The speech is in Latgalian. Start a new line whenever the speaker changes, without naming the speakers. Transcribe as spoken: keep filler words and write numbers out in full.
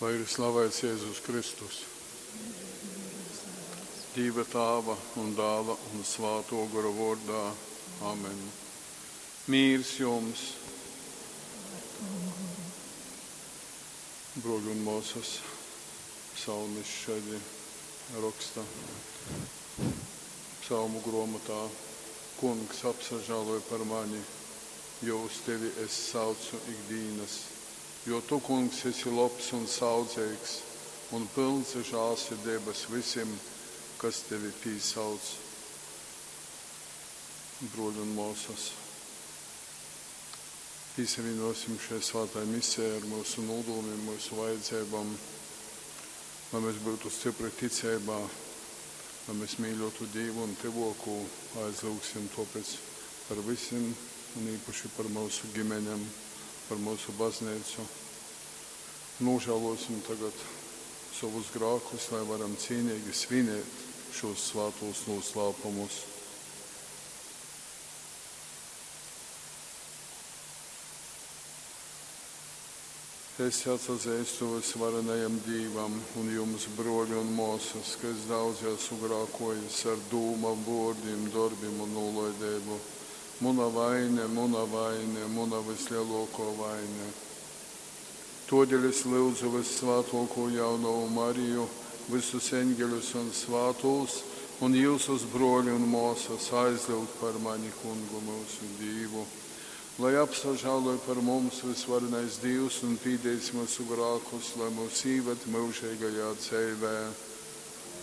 Lai ir slavēts Jēzus Kristus. Dīva Tāva un Dāla un Svātō Gora vōrdā. Amen. Mīrs jums! Bruoļi un mōsas, psalmis šādi roksta psalmu grōmotā. Kungs, apsažāloj par mani, jo uz tevi es saucu ikdīnas. Jo tu, Kungs, esi lobs un saudzeigs un pylns žālsirdeibas vysim, kas tevi pīsauc. Bruoļi un mōsas, pīsavīnosim šai svātai misijai ar myusu nūdūmim, myusu vajadzeibom, lai mēs būtu stipri ticeibā, lai mēs mīļotu Dīvu un tyvōkū, aizlyugsim tōpēc par vysim un īpaši par myusu ģimeņem, par myusu baznīcu. Nožēlosim tagad savus grākus, lai varam cīnīgi svinēt šos svātos noslēpumus. Es atsazeistu vysvarenajam Dīvam un jums, bruoļi un mōsas, ka es daudz esmu grākojis ar dūmām, vōrdim, dorbim un nūlaideibu. Muna vaine, muna vaine, muna vislielākā vaine. Todēļ es lyudzu vyssvātōkū jaunovu Mariju, vysus eņģeļus un svātūs, un jyusus, bruoļi un mōsas, aizlyugt par mani Kungu myusu Dīvu. Lai apsažāloj par mums vysvarenais Dīvs un pīdīs myusu grākus, lai mūs īved myužeigajā dzeivē.